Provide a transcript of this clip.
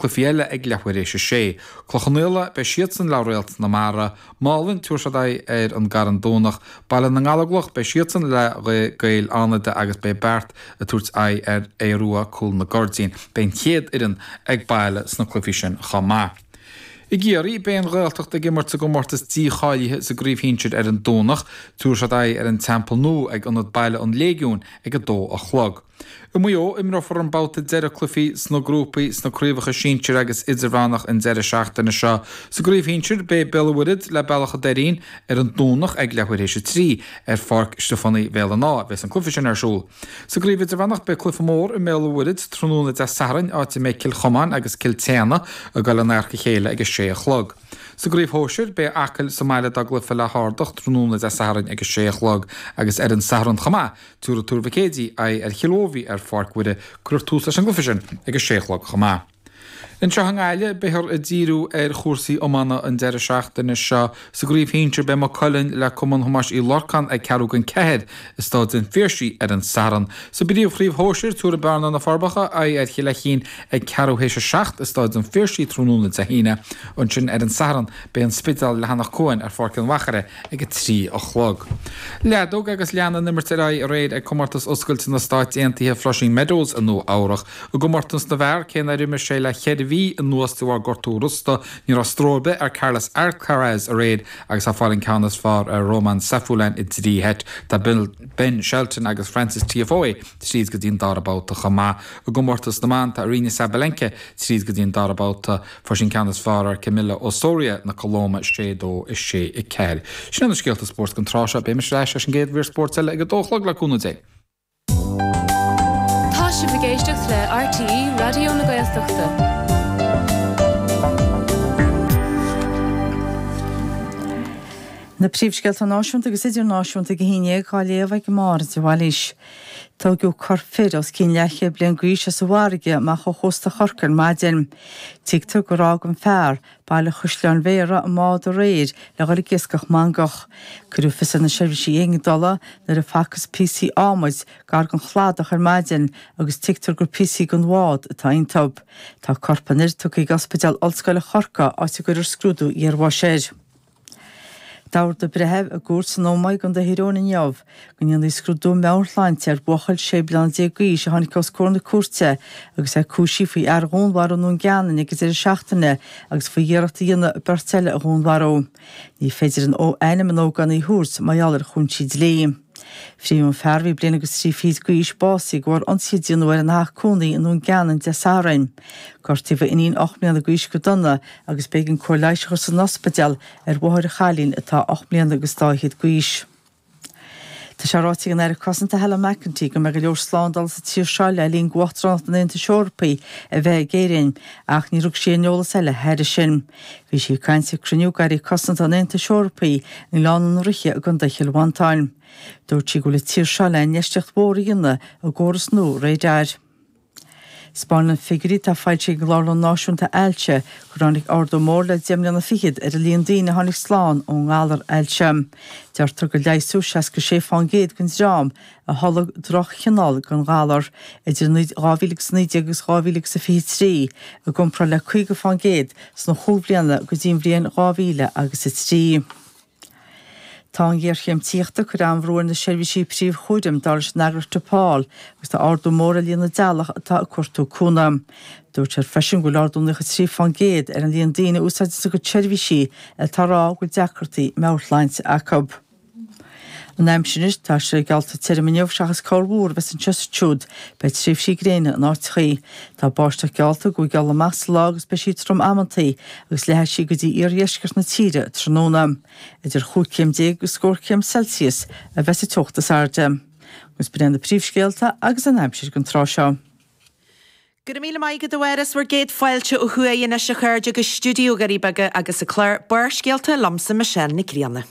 Cluichí eile ag leathuair théis a sé. Cloich Cheann Fhaola, beidh siadsan le Réalt na Mara. Málainn, tabharfaidh siad aghaidh ar an gCarn Domhnach. Baile na nGallóglach, beidh siadsan le Gaeil Fhánada agus beidh Beart ag tabhairt aghaidh ar Aodh Rua, Cúl na gCuirdín. Beidh an chéad fhoireann ag baile sna cluichí sin chomh maith. I gCiarraí, beidh an Ghaeltacht ag imirt sa gcomórtas dícháilithe sa gcraobh shinsir ar an Domhnach. Tabharfaidh siad aghaidh ar an Teampall Nua ag Ionad Baile an Léigiúin ag a dó a chlog. I Maigh Eo, imreofar an babhta deiridh cluichí sna grúpaí sna craobhacha sinsir agus idirmheánach an deireadh seachtaine seo. Sa gcraobh shinsir, beidh Béal an Mhuirthead le Bealach an Doirín ar an Domhnach ag leathuair théis a 3 ar Pháirc Stiofáin Bhéal an Átha a bheas an cluiche sin ar siúl. Sa gcraobh idirmheánach, beidh cluiche mór i mBéal an Mhuirthead tráthnóna Dé Sathairn, áit a mbeidh Cill Chomáin agus Cill tSéadhna ag dul in adharca a chéile ag a sé a chlog. Sa gcraobh shóisir, beidh Acaill sa mbaile dá gcluiche le hArdach tráthnóna Dé Sathairn ag a sé a chlog agus ar an Satharn chomh maith, Tabharfaidh Tuar Mhic Éadaigh aghaidh ar Chill Mhóibhí ar Pháirc Mhuire. Cuirfear tús leis an gcluiche sin ag a sé a chlog chomh maith. Anseo i nGaillimh, beifear ag díriú ar chúrsaí iomána an deireadh seachtaine seo. Sa gcraobh shinsir, beidh Maigh Cuilinn le Cumann Thomáis Uí Lorcáin ag ceathrú don ceathair i Staid an Phiarsaigh ar an Satharn. Sa bpríomhchraobh shóisir, tabharfaidh Bearna na Forbacha aghaidh ar Chill Fheichín ag ceathrú théis a seacht i Staid an Phiarsaigh tráthnóna Dé hAoine. Ansin ar an Satharn, beidh An Spidéal le hAnach Cuain ar Pháirc an Mhachaire ag a 3 a chlog. Leadóg agus lean an imirt ar aghaidh aréir ag Comórtas Oscailte na Stáit Aontaithe Flushing Meadows i Nua Eabhrach. I gcomórtas na bhfear, cé nár imir sé le cheithre mhí anuas de bharr gortú rosta, ní raibh stró ar bith ar Carlos Alcaraz aréir agus é ag fáil an ceann is fearr ar Roman Safiullin i dtrí sheit. Tá Ben Shelton agus Frances Tiafoe tríd go dtí an dara babhta chomh maith. I gcomórtas na mban, tá Aryna Sabalenka tríd go dtí an dara babhta. Fuair sí an ceann is fearr ar Camila Osorio na Colóime, 6, 2, 6, 4. Sin iad na scéalta spóirt don tráth seo. Beidh mise ar ais leis an gcéad mhír spóirt eile ag a dó a chlog le cúnamh Dé. Tá sibh ag éisteacht le RTÉ Raidió na Gaeltachta. Na príomhscéalta náisiúnta agus idirnáisiúnta ag a haon dhéag á léamh ag Máire de Bhailís. Tógadh corp fir os cionn leathchéad bliain d'aois as an bhfarraige amach ó chósta Chorcaí ar maidin. Tuigtear gur fhág an fear, Baile Chaisleáin Bhéarra, an bád aréir le dhul ag iascach mangach. Cuireadh fios ar na seirbhísí éigeandála nuair a facthas píosaí adhmaid gar don chladach ar maidin agus tuigtear gur píosaí den bhád atá iontu. Tá corp an fhir tugtha ag Ospidéal Ollscoile Chorcaí áit a gcuirfear scrúdú iarbháis air. D'ordaigh breitheamh i gcúirt san Ómaigh i gContae Thír Eoghain inniu go ndéanfaí scrúdú meabhairshláinte ar bhuachaill 16 bliana d'aois a tháinig os comhair na cúirte agus é cúisithe faoi fhear a dhúnmharú i nDún Geanainn ag an deireadh seachtaine agus faoi iarracht a dhéanamh beirt eile a dhúnmharú. Ní féidir ainm an ógánaigh a thabhairt mar gheall ar chúinsí dlí. Frítheadh an fear, a bhí bliain agus trí fichid d'aois, básaithe de bharr ionsaí a déanadh air ina theach cónaí i nDún Geanainn Dé Sathairn. Gortaíodh a iníon 8 mbliana d'aois go dona agus b'éigean cóir leighis a chur san ospidéal ar mháthair an chailín atá 8 mbliana agus dá fhichead d'aois. Tá sé ráite ag an Aire Cosanta Helen McEntee go mbeidh go leor slándála sa tír seo le linn d'Uachtaránacht an Aontais Eorpaigh a bheith ag Éirinn ach níor thug sí aon eolas eile thairis sin. Bhí sí ag caint ag cruinniú d'Airí Cosanta an Aontais Eorpaigh i nGleann an Rotha i gContae Chill Mhantáin. Dúirt sí go bhfuil an tír seo le infheistíocht mhór a dhéanamh i gcóras nua radair. 'Spáineann figiúirí atá foilsithe ag an gClárlann Náisiúnta Ailse gur tháinig ardú mór le 10 mbliana fichead ar an líon daoine a tháinig slán ón ngalar ailse. Deirtear gur leigheasadh 66 fán gcéad den dream a tholg droch-chineál den ghalar idir 2019 agus 2023, i gcomparáid le 50 fán gcéad sna chúig bliana go dtí an bhliain 2003. Tá an ghéarchéim tithíochta ag cur an-bhrú ar na seirbhísí príomhchúraim, dar leis an eagraíocht DePaul, agus tá ardú mór ar líon na dteaghlach atá ag cuartú cúnamh. Dúirt siad freisin go bhfuil ardú 93% ar an líon daoine a úsáideann a gcuid seirbhísí atá ag rá go bhfuil deacrachtaí meabhairshláinte acu. An aimsir anois, tá sé geallta tirim inniu seachas corrmhúr a bheas anseo is ansiúd. Beidh tréimhsí gréine in áiteachaí. Tá báisteach geallta ag gabháil amach sa lá agus beidh sí trom amantaí agus leathfaidh sí go dtí iardheisceart na tíre tráthnóna. Idir chúig chéim déag agus scór céim Celsius a bheas an teocht is airde. Agus b'in iad na príomhscéalta agus an aimsir don tráth seo. Go raibh míle maith agat a Mháire, 's bhur gcéad fáilte ó thuaidh anois a chairde go stiúideo Dhoirí Beaga agus an clár Barrscéalta liomsa Michelle Nic Grianna.